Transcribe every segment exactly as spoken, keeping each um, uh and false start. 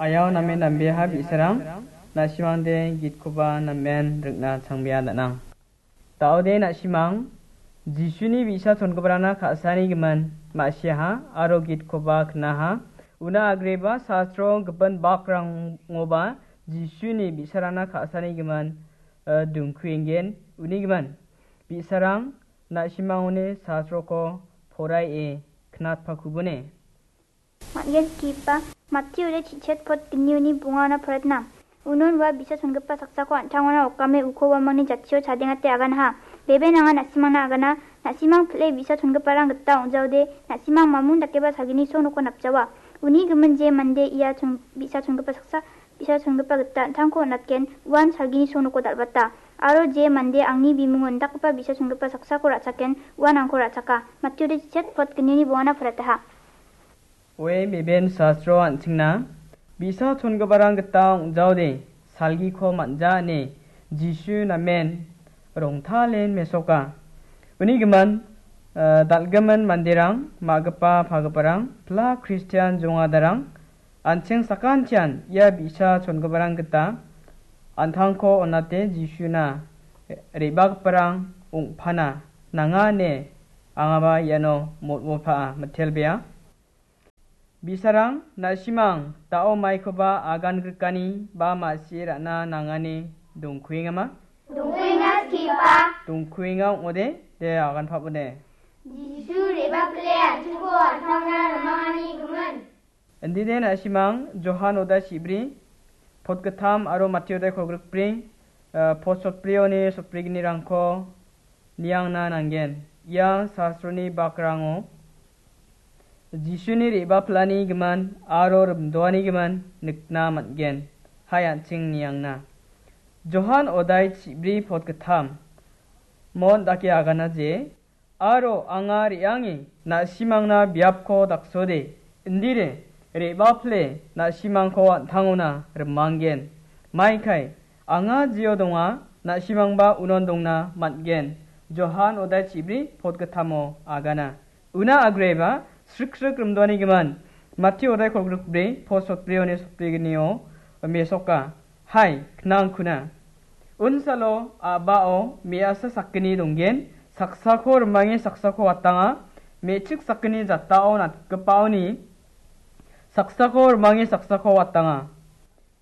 Ayao namen nambeha bi·sarang, na·simangde gitkoba namen rikna changbea danang. Daode na·simang, Jisuni bi·sa chongiparangna ka·sani gimin ma·siaha aro gitkoba knaha. Una agreba sastro gipin bakrangoba Jisuni bi·sarangna ka·sani gimin, eh, dongkuengen. Uni gimin, bi·sarang na·simangoni sastroko poraie knatpakubone. Man·gen skipa Mattiode chichet pot gnioni bongana poretna. Unon ua bisa chongipa saksako an·tangona okame uko uamangni jatchio chadengate aganaha. Bebe nanga na·simangna agana, na·simang pile bisa chongiparang gita ong·jaode, na·simang mamun dakeba salgini sonoko napjawa. Uni gimin je mande ia chon-, bisa chongipa saksa, bisa chongipa gita an·tangko on·atgen, uan salgini sonoko dal·bata. Aro je mande angni bimungo indakgipa bisa chongipa saksako ra·chaken, uan angko ra·chaka. Mattiode chichet pot gnioni bongana poretaha. Oe, beben sastro an·chingna, bisa chongiparang gita ong·jaode, salgiko man·ja ine Jisu namen rongtalen mesoka. Uni gimin, eh, dal·gimin manderang, ma·gipa pagiparang, pla Kristian jongadarang, an·ching sakantian ia bisa chongiparang gita an·tangko on·ate Jisuna re·bagiparang ong·pana nanga ine angaba iano motmotpaa mitelbea. Bisarang, na·simang da·o maikoba agan grikani ba ma·sie ra·na nangani dongkuengama? Dongkuenga, skipa. Dongkuenga ong·ode, de agan pabode. Jisu re·bapile an·chingko an·tangna rimangani gimin. Indide na·simang Johan oda chibri, pot gittam aro Mattiode kolgrikbri, eh, pot sotbrioni sotbrignirangko niangna nanggen. Ia sastroni bakrango Jisuni re·bapilani gimin aro rimdoani gimin nikna man·gen. Hai an·ching niangna. Johan odai chibri pot gittam. Mon dake agana je, aro anga re·ange na·simangna biapko daksode, indire re·bapile na·simangko an·tangona rimanggen. Maikai, anga jio donga, na·simangba unon dongna man·gen. Johan odai chibri pot gittamo agana. Una agreba sriksrik rimdoani gimin, Matti odai kolgrikbri pot sotbrioni sotbrignio mesoka. Hai, knangkuna. Unsalo a·bao me·asa sakgni donggen, saksako rimange saksako watanga, me·chik sakgni jatao natgipaoni saksako rimange saksako watanga.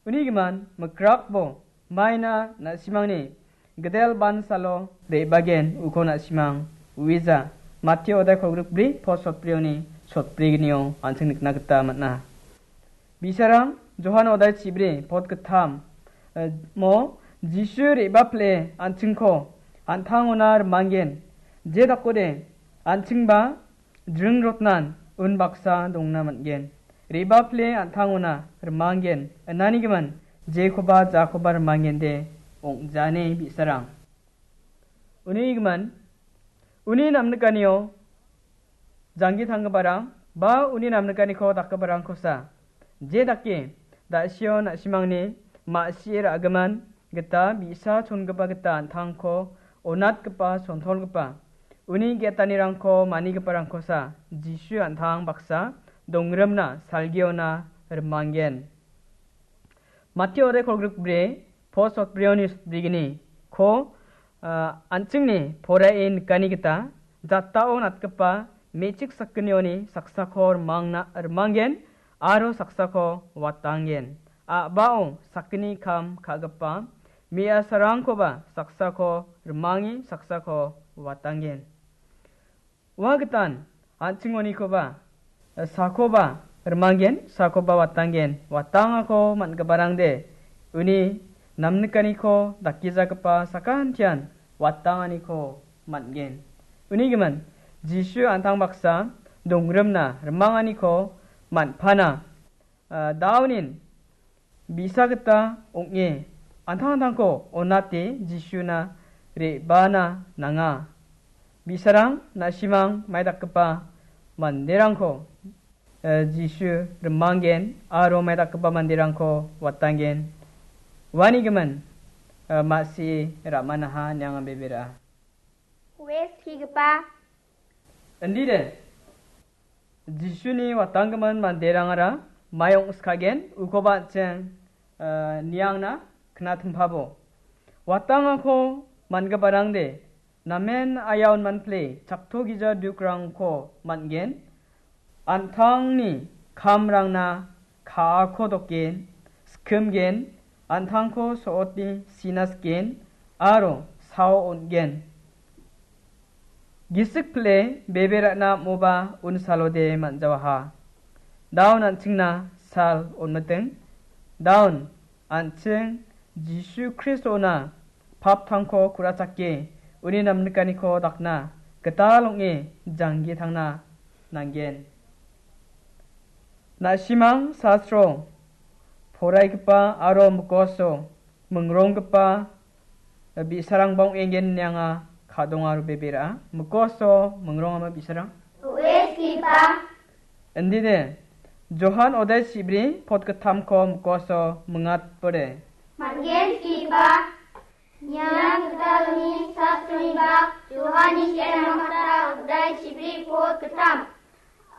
Uni gimin, mikrakbo, maina na·simangni gidel bansalo re·bagen uko na·simang uija. Matti odai kolgrikbri pot sotbrioni sotbrignio an·ching nikna gita man·a. Bisarang Johan odai chibri pot gittam, eh, mo Jisu re·bapile an·chingko an·tangona rimanggen. Je dakode an·chingba jringrotnan unbaksa dongna man·gen. Re·bapile an·tangona rimanggen. Inani gimin jekoba jakoba rimanggende ong·jani bisarang. Uni gimin, uni namnikanio janggi tanggiparang ba uni namnikaniko dakgiparangkosa, je dake da·sio na·simangni ma·sie ra·gimin gita bi·sa chongipa gita an·tangko onatgipa, sontolgipa, uni ge·etanirangko manigiparangkosa Jisu an·tang baksa dongrimna salgiona rimanggen. Matti odai kolgrikbri, pot sotbrioni sotbrigni, ko, ah, an·chingni poraie nikani gita, jatao natgipa me·chik sakgnioni saksako rimangna, rimanggen aro saksako watanggen. A·bao sakgni kam ka·gipa me·asarangkoba saksako rimange saksako watanggen. Ua gitan, an·chingonikoba, sakoba rimanggen, sakoba watanggen, watangako man·giparangde, uni namnikaniko dakgijagipa sakantian watanganiko man·gen. Uni gimin, Jisu an·tang baksa dongrimna rimanganiko man·pana, ah, daonin bi·sa gita ong·e, an·tangtangko onate Jisuna re·bana nanga. Bi·sarang, na·simang maidakgipa manderangko, eh, Jisu rimanggen aro maidakgipa manderangko watanggen. Uani gimin, eh, ma·sie ra·manaha niangan bebera. Wes kigipa. Indide, Jisuni watanggimin manderangara Mayong skagen, ukoba an·ching, eh, niangna knatimpabo. Watangako mangiparangde, namen ayaon manple, chakto gija dukrangko man·gen. An·tangni kamrangna ka·ako doken, skimgen, an·tangko so·oti sinasken, aro sao on·gen. Gisik pile bebe ra·na am·oba unsalode man·jawaha. Daun an·chingna sal on·miteng. Daun an·ching Jisu Kristona paptangko ku·rachake uni namnikaniko dakna gital ong·e janggi tangna nanggen. Na·simang sastro poraigipa aro mikoso mingronggipa bi·sarangba ong·engen ine anga ka·donga aro bebe ra·a. Mikoso mingrongama bi·sarang? Oe skipa. Indine, Johan odai chibri pot gittamko mikoso mingatbode. Man·gen skipa. Niang gitaloni sastroni bak, Johani se·rangna mata odai chibri pot gittam.